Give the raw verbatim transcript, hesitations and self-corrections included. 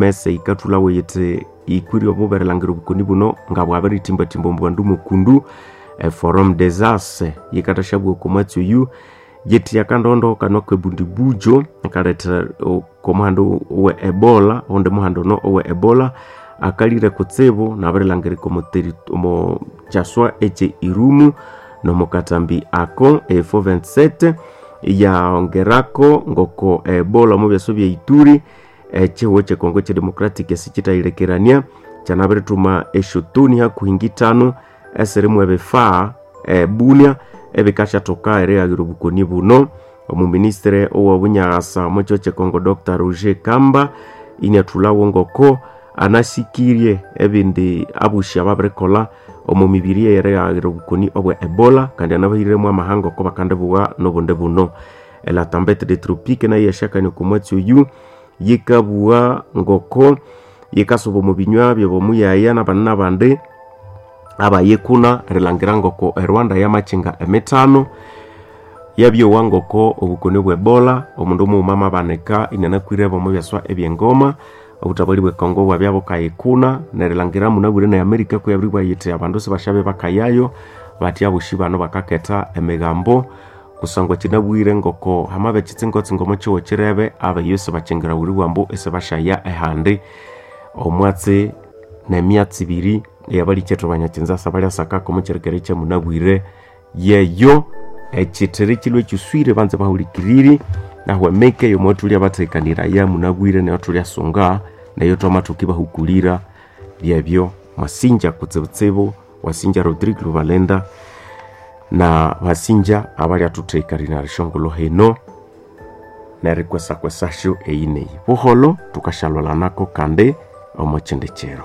O M S yikathulhawo yithi yikwire obuberelangira obukoni buno nga bwabiritimbatimba omu bandu mukundu. Forum des As yikathasyabugha oko mwatsi oyu yithi akandondo kano akebundibujo akaletha omuhanda owe Ebola, owundi muhanda ono owe Ebola akalire kutsibu nabirilangirika omo kyaswa ekye Irumu nomukatambi ako e four vingt-sept iyongerako ngoko Ebola omu byaswa bye Ituri ekihugho kye Congo kye Democratic sikyithayilekerania kyanabirithuma esyotoni hakuhi ngithanu esirimu ebifaa e Bunia ebikasyathoka erighaghira obukoni buno. Omuministere owobunyasa omo kihugho kye Congo Doctor Roger Kamba iniathulhawo ngoko anasikirye ebindi abushi ababirikolha omo mibiri eyerighaghira obukoni obwe Ebola kandi anabahiremu amahanga oko bakandibugha nobundi buno. La Tempête des Tropiques nayo iyasyakania oko mwatsi oyu yikabugha ngoko yikasuba omo binywa byabomuyaya nabandi nabandi abayikuna erilhangira ngoko e Rwanda yamakyinga emithano yabyowa ngoko obukoni obwe Ebola omundu mughuma amabanika inianakwirebo omo byaswa ebyengoma. Obuthabali bwe Congo bwabya bukayikuna nerilhangira munabwire ne America kuyabiribugha yithi abandu sibasyabe bakayayo bathi abosi bano bakaketha emigambo kusangwa kyinabwire ngoko hamabya kyitsingo-tsingo omo kihugho kirebe abayi isibakyingirawulibwa ambu isibasyaya ehandi. Omwatsi nemyatsi ibiri eyabalikethu abanyakinzasa balyasakako omo kyirikere kyamunabwire yeyo ekyithiri kilhwe kyiswire banza bahulikiriri nahu emike yomwathulya bathekaniraya munabwire neyo thulyasunga neyo thwamathoka ibahukulira byebyo. Mwasinja kutsibutsibu wasinja Rodrigue Lubalenda na basinja abalyathuthekaniraya esyongulho hino nerikwesakwesasyo eyi neyi. Buholho thukasyalwalanako kandi omo kyindi kiro.